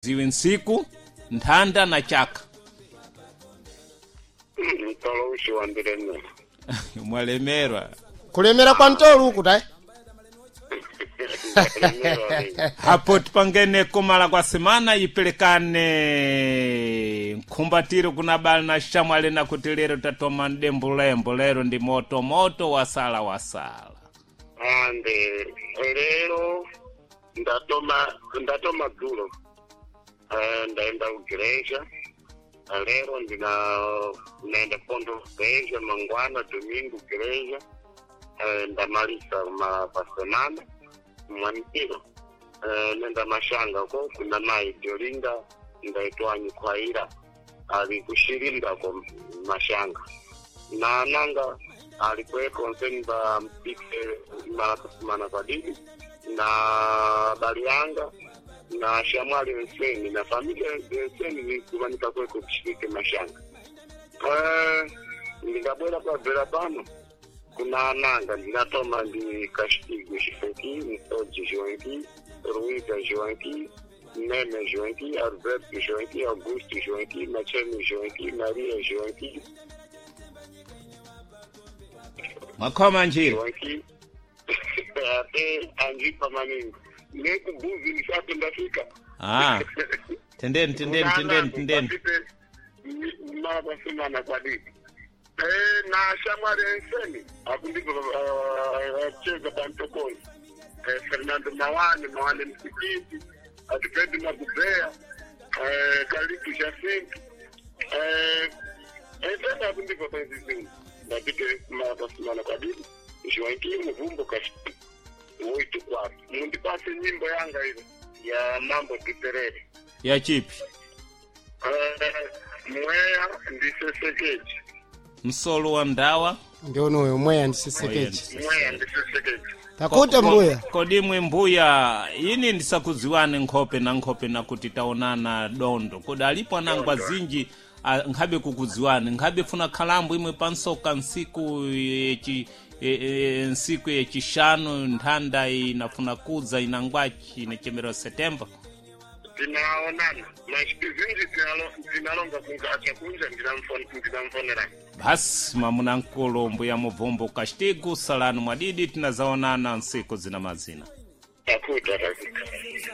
Ziwe nsiku nthanda na chaka. Mtolo ushi wandilemera. Mwalemerwa. Kulemera kwa mtolo uku tayi. Ndalemera lini. Hapo tipangene kumala kwa semana ipelekane nkhumbatiro kuna bali na shamwali na kuti lero tatoma mdembulembo lero ndi moto moto wasala wasala. Ande lero ndatoma dzulo. Ndaenda kugereja lero ndina naenda pondo kugereja mangwana domingo gereja. Ndamalisa ma pasemana mwanikiro. Nenda mashanga ko kuna mai Diolinda ndaitwa Nyikwaira ali kushirinda ko mashanga na nanga alikuweko nseni ba mpike mara kusimana kwa dini na balianga na shamwali nseni na familia nseni nikubanika kweko kushirike mashanga. Ndingabwera kwa bwera pano kuna nanga ndinatoma ndi Castigo Joaquim, Mtoji Joaquim, Ruiza Joaquim, Nene Joaquim, Alberto Joaquim, Augusto Joaquim, Macheme Joaquim, Maria Joaquim, Makhoma njira. Joaquim ate anjipa maningi nekubuzi nisati ndafika. Ah. Tendeni tendeni tendeni tendeni. Marapasimana kwadidi. Na shamwali enseni akundipo cheza pantokoni. Fernando Mawane Mawane msikiti atipendi magubea Kalitu Jacinto enseni akundipo penzizini ndapite marapasimana kwadidi Joaquim Mvumbo Kashti woitu kwake mundipase nyimbo yanga ile ya mambo tuperere. Ya chipi? Mweya ndisesekeji. Msolo wa ndawa. Ndionoyo mweya ndisesekeji. Mweya ndisesekeji. Takuta mbuya. Kodimwe mbuya ini ndisakudziwane nkhope na nkhope na kuti taonana dondo kodi alipo anangwa zinji nkhabe kukudziwani nkhabe funa khalambo imwe pansoka nsiku yechi nsiku yechishanu nthanda inafuna kudza inangwachi inachemera Setemba. Tinaonana mashiki zinji tinalonga kungacha kunja ndinamfonerani. Basi mamuna nkulu mbuya mubvumbo Castigo salano mwadidi tinazaonana nsiku zina mazina. Takuta takuta.